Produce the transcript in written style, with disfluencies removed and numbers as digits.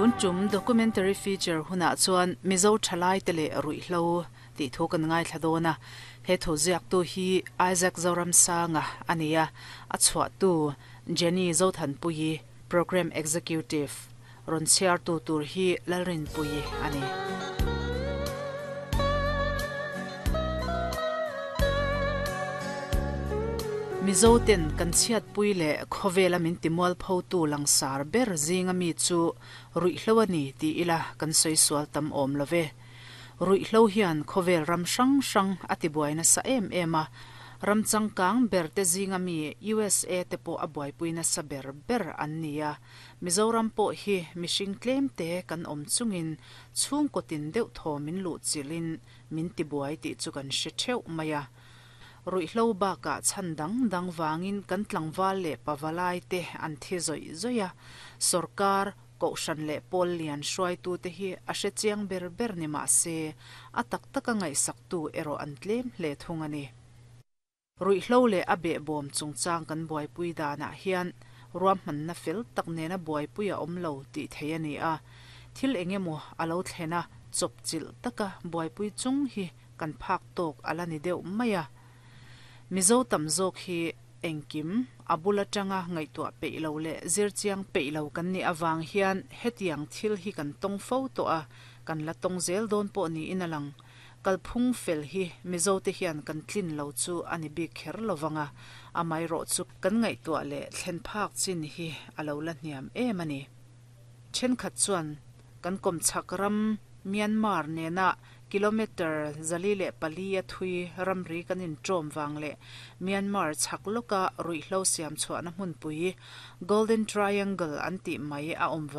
Tun tum documentary feature hunah chuan Mizo thalaite leh ruihhlo tih thu kan ngaithla dawn a. He thu ziaktu hi Isaac Zoramsanga a ni a, a chhuahtu Jenny Zothanpuii, Programme Executive, rawn chhiartu tur hi Lalrinpuii a ni. Mizo ten kan chhiatpui leh khawvela min timualphotu langsar ber zinga mi chu ruihhlo a ni ti ila kan sawi sual tam awm lo ve. Ruihhlo hian khawvel ram hrang hrang a tibuai nasa em em a, ram changkang ber te zinga mi USA te pawh a buaipui nasa ber ber an ni a. Mizoram pawh hi mihring tlem te kan awm chungin chhungkaw tin deuh thaw min luh chilhin min tibuai tih chu kan hre theuh mai a. Ruihhlo bakah chhan dang dang vangin kan tlangval leh pavalai te an thi zawih zawih a, sorkar, kohhran leh pawl lian hruaitute hi a hre chiang ber ber ni mah se a tak taka ngaihsaktu erawh an tlem hle thung a ni. Ruihhlo leh a behbawm chungchang kan buaipui danah hian ruahmanna fel tak nena buaipui a awm lo tih theih a ni a. Thil eng emaw a lo thlen a, chawpchilh taka buaipui chung hi kan phak tawk a la ni deuh mai a. Mizo tam zawk hi engkim a bul atanga ngaihtuah peih lo leh zirchiang peih lo kan nih avang hian hetiang thil hi kan tawng fo tawh a, kan la tawng zel dawn pawh niin a lang. Kalphung fel hi Mizote hian kan tlin lo chu a ni bik kher lo vang a, amaherawhchu kan ngaihtuah leh thlen phak chin hi a lo la hniam em a ni. Thenkhat chuan kan kawmchhak ram Myanmar nena kilometre 404 a thui ramri kan inṭawm vang leh Myanmar chhak lawka ruihhlo siam chhuahna hmunpui Golden Triangle an tih mai a awm vang.